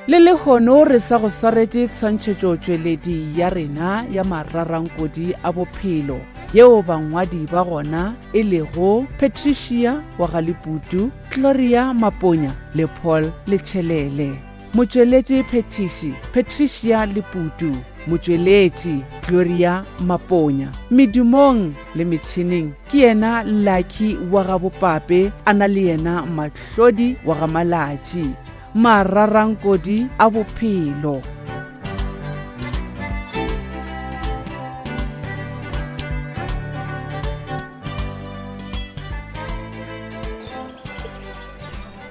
Le lehono re sa go swaretše tshwantšhetšotšweledi ya rena ya mararankodi a bophelo yeo bangwadi ba gona e lego Patricia wa ga Leputu, Gloria Maponya le Paul Letšhelele. Motšweletši phethiši Patricia Leputu, motšweletši Gloria Maponya. Medumong le metšhineng ke yena Lucky wa ga Bopape a na le yena Mahlodi wa ga Malatši. Mararankodi a bophelo.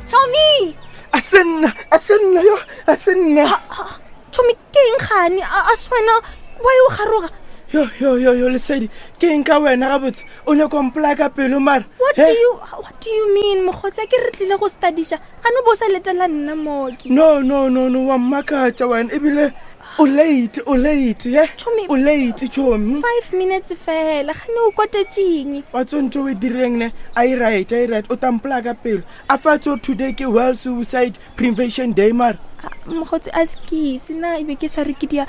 Tommy! A se nna, a se nna yo, a se nna. Tommy ke eng gane? A se wena wa o garoga? Yo yo yo yo lesedi, ke eng ka wena gabotse? O nyaka mpolaya ka pelo mara. What do you what do you mean mokgotsi a ke re tlile go studiša gane o bo o sa letela nna mooki no no no no wa mmakatša wena ebile o late o late ye Chomi. o late chomi five minutes fela gane o kwatetšeng wa tso ntho o e direng ne a e right a e right o tampolaya ka pelo a fa tso today ke world suicide prevention day mara Ah, mokgotsi a sekise na ebe ke sa re ke dia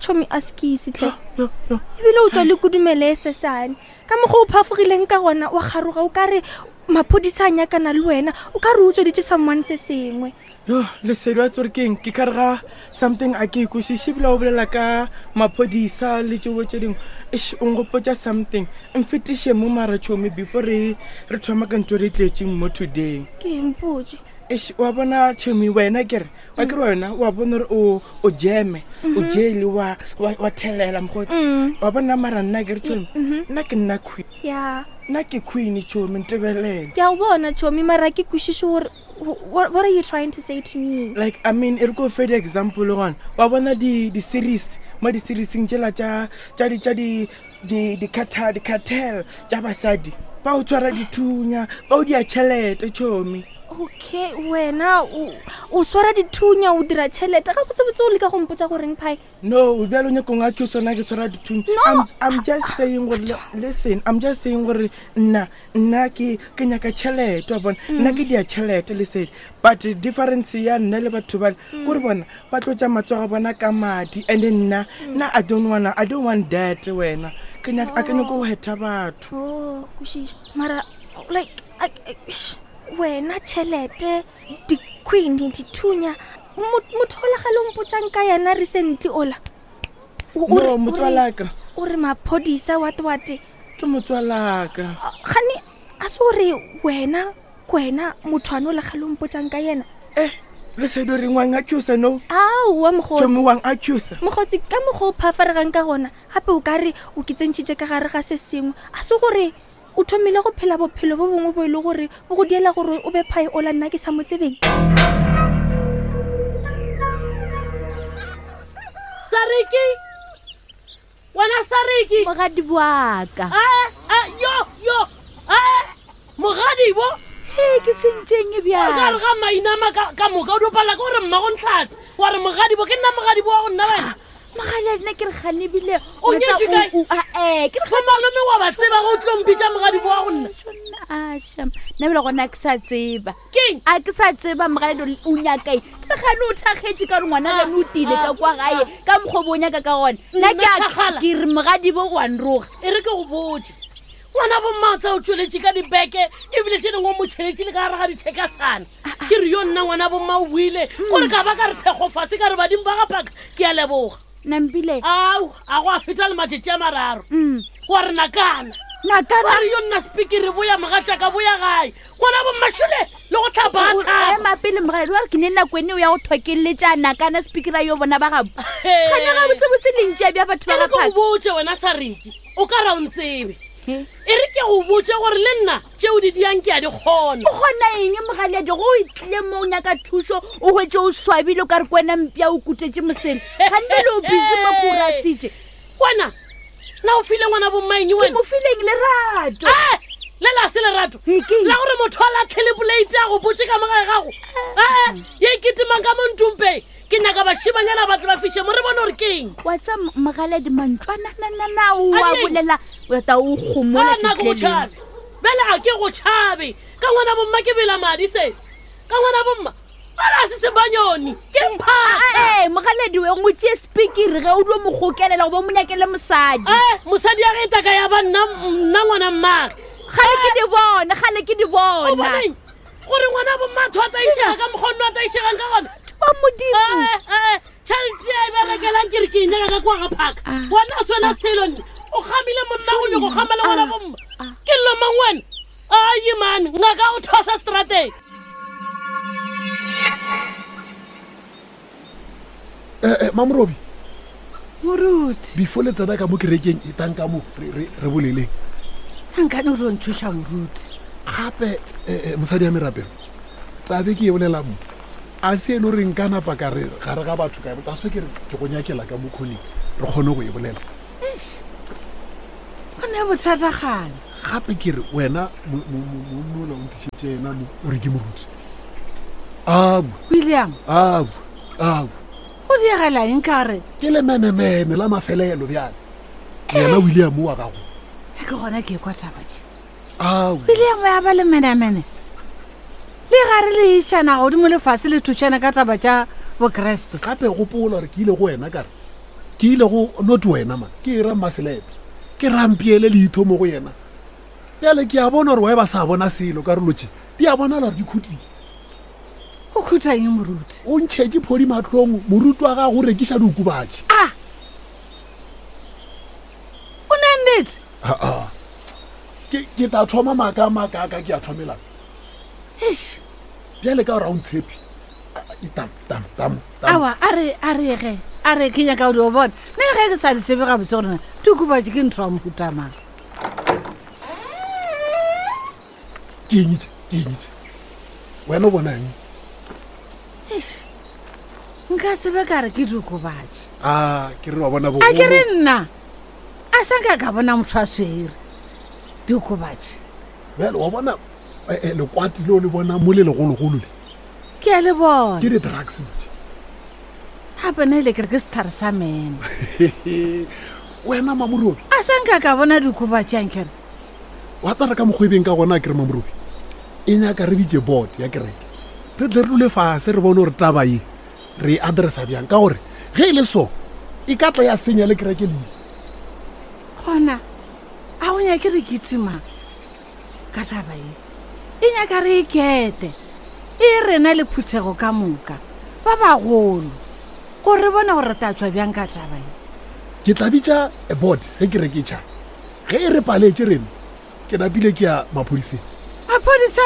chomi a sekise tlhe Yo, yo. ebile o tswa le kudumele e sesane ka mokgwa o phafogileng ka gona wa garoga o ka re maphodisa a nyakana le wena o ka re o tsweditše someone se sengwe yo lesedi wa tsore keng ke kare ga something a ke ikwešiše ebile o bolela ka maphodisa le tšeo tše dingwe eš o nkgopotša something mfetiše mo mara tšhomi before re re thoma ka ntho re tletšeng mo today ke eng potse eš wa bona tšhomi wena kere wa kere wena wa bona gore o o jeme o jele wa wa wa thelela mokgotsi wa bona mara nna kere tšhomi nna ke nna queen ya nna ke queen tšhomi ntebelele ke a o bona chomi mara ke kwešiše gore what, what are you trying to say to me like i mean e re ko fe di-example gona wa bona di-series mo di-serieseng tšela tša tša di tša di di di-cartel di-cartel tša basadi ba o tshwara dithunya ba o dia tšhelete tšhomi okay wena o o swara dithunya o dira tšhelete ga botsebotse o leka go mpotsa goreng phae no bjalo nyakong a ke sona ke tshwara dithunya No. I'm, i'm just saying gore listen i'm just saying gore nna nna ke ke nyaka tšhelete wa bona nna ke dia tšhelete lesedi but difference ya nna le batho bale kore bona ba tlotša matsogo a bona ka madi and then nna nna i don't wanna i don't want that wena ke nyaka a ke nyako go hetha batho o kwešiša mara like I, I, ish, wena tšhelete di-queen dithunya motho ola gale o mpotsang ka yena recently ola O- o re- no o re- motswalaka o re maphodisa wate wate ke motswalaka gane a se gore wena kwena motho ane o le gale o mpotsang ka yena eh lesedi o reng wang accusa no aowa tšhomi mokgotsi wang accusa mokgotsi ka mokgwa o phafaregang ka gona gape o ka re o ke tsentšhitše ka gare ga se sengwe a se gore o thomile go phela bophelo bo bongwe bo e le gore bo go diela gore o be phae ola nna ke sa mo tsebeng sariki wena sariki mogadi boaka Ae, ae, yo yo ae mogadibo e ke sentseng o ka re bjale ga mainama ka ka moka o dopala ke gore mmago ntlhatse wa re mogadibo ke nna mogadibo wa go nna wena mogadi a nna ke re ganebile O nyetšwe kae? ee ke re bo malome wa ba tseba go tlo mpitša mogadibo wa go nna aša nna bele gona a ke sa tseba keng a ke sa tseba mogaledi o nyakae ke re gane o thakgetše ka gore ngwana gane o tile ka kwa gae ka mokgwa o bo o nyaka ka gona nna Nna ke a- thakgala. ke re mogadibo o a nroga e re ke go botse ngwana bommaotsa o tsweletše ka dibeke ebile tše dingwe o mo tšheletše le ka gare ga ditšhekasana ke re yo nna ngwana bomma o buile kore ka ba ka re thekgo fase ka re badimo ba gapaka ke a leboga nampile ao a go a feta le matšatši a mararo Mm. wa re nakana wa nakana re yo nna sepikere boya mogatšaka boya gae ngwana bommašole le go tlhapa a tlhapa ema pele mogaledi wa re ke ne nako ene o ya go thokeletša nakana speakera yo bona ba gabo gane gabotsebotse lentši bja batho e ba re ke go gaphaka botse wena sariki o ka ra o ntsebe e re ke go botse gore le nna tšeo di diang ke a di kgona o kgona eng mogaledi go o tlile mo o nyaka thuso o hwetse o swabile o ka re ke wena mpša o kutetše mosele gante le o busy mo ko o rasitše wena na o file ngwana bommaeng ke wena mo fileng lerato Eh, le la se lerato Ee, ke eng? la gore motho a latlhele poleite a go botse ka mogae gago ee ye ketimang ka mo ntumpeng ke nyaka bašimanyana ba tle ba fiše mo re bone gore ke eng wa tsa mogaledi mantswanananana o A a di eng? bolela o ta o gomola a nna ke go tšhabe bjale ga ke go tšhabe ka ngwana bomma ke bela madi sese ka ngwana bomma ala se sebanyoni ke mphaka Ee, mogaledi we ngwe tšee sepikiri ge o dio mo gokelela goba o mo nyakele mosadi Eh, mosadi ya ge taka ya ba nna nna ngwana mmage gale ke di bona gale ke di o bona boneng gore ngwana bommatho a taišega ka mokgonno a taišegang ka gona ba modimo Eh, eh, tšhelete ya e berekelang ke re ke e nyaka ka kwa ga phaka wena a swena selo nne o gamile monna go nyako gama le ngwana bomma ke llo mang wena aye mane ngaka o thosa strateng Eh, eh, mamorobi moruti before le tsena ka mo kerekeng e tang ka mo re- re re boleleng nkane o ro nthuša moruti gape eh, eh, mosadi ya merapelo tabe ke e bolela mo a se e le goreng ka napa ka re gare ga batho ka ta so ke re ke go nyakela ka mo kgoneng re kgone go e bolela Eish, go ne bothatagane gape ke re wena monnola o ntišetse ena mo o re ke moruti abu william abu abu go diegela eng ka re ke lemenemene la mafelelo bjale yena william wa gago e ke gona ke ekwa taba tše abu william ya ba lemenemene le gare le išana godimo lefase le thušana ka taba tša bokreste gape gopola gore ke ile go wena kare ke ile go not wena man ke era mmaselepe ke rampiele leitho mo go yena bjale ke a bona gore wae ba sa bona selo karolo tše di a bonala gore di khutile go khutha eng moruti o ntšhetše phodi matlhong moruti wa gago o rekiša diokobatši a o ne nnete aa ke ke tla thoma maaka a maakaaka ke a thomelang eish bjale ka gore ga o ntshepe A- tam tam tam tam awa a re a re ge a re ke nyaka go di o bona nne le ge ke sa di tsebe gabotse gorena diokobatši ke ntho ya mohutamang ke eng tše ke eng tše wena o bona eng eish nka sebe ka re ke diokobatši a ke re wa bona a ke re bogolo nna a sa nka ka bona motho a swere diokobatši bjale wa bona eh, eh, lekwati leo le bona mo le legologolo le ke a le bona ke di-drugs tše gape ne le kere ke setlhare sa mene wena mamorobi a sa nka ka bona diokobatši ankere wa tsara ka mokgwebeng ka gona a kere mamorobi e nyaka re bitse board ya kereke re tle re dule fase re bone gore taba ye re e addressa bjang ka gore ge e le so e ka tla ya senya le kereke leina gona a go nyake re kitima ka taba ye e nyaka re e kete e rena le phuthego ka moka ba bagolo gore re bone gore re tla tswa bjang ka taba ye ke tla bitša a board ge kereke e tšha ge e re paletše rena ke napile ke ya maphodiseng maphodisa